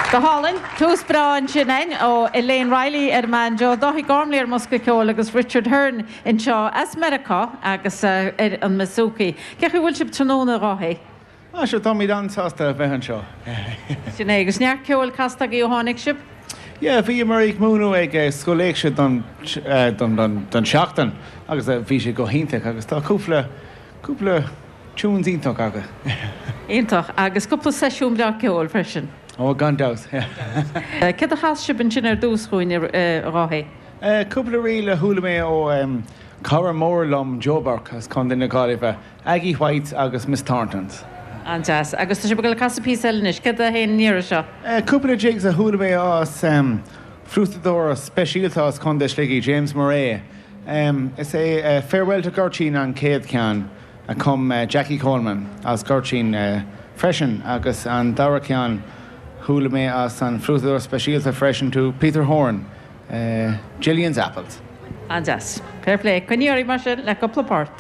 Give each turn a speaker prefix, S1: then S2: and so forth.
S1: Go hálainn. Tús breá ansin againn ó Elaine Reilly ar an mbanjo, Dáithí Gormley ar an mbosca ceoil agus Richard Hearne anseo as Meiriceá agus ar an mbouzouki. Cén chaoi a bhfuil sibh tráthnóna, a Dháithí?
S2: Ah sure, táimid an-sásta a bheith anseo.
S1: Sin é. Agus neart ceoil casta agaibh ó tháinig sibh?
S2: Yeah, bhíomar ag múineadh ag Scoil Éigse don don seachtain agus bhí sé go hiontach agus tá cúpla cúpla tunes iontach acu.
S1: Iontach. Agus cúpla seisiún breá ceoil freisin.
S2: Ó, gan dabht.
S1: Céard a chas sibh ansin ar dtús dhúinn, a Dháithí?
S2: Cúpla ríl a chuala mé ó cara mór liom, Joe Burke as Contae na Gaillimhe, Aggie Whites agus Miss Thorntons.
S1: An-deas. Agus tá sibh ag dul ag casadh píosa eile anois. Céard a théann an iarraidh seo?
S2: Cúpla jigs a chuala mé as fliútadóir speisialta as Contae Shligigh, James Murray. Is é Farewell to Gurteen an chéad cheann a chum Jackie Coleman as Gurteen freisin agus an dara ceann chuala mé as an fliútadóir speisialta freisin to Peter Horan, Gillian's Apples.
S1: An-deas. Fair play. Coinnigh oraibh mar sin le cúpla port.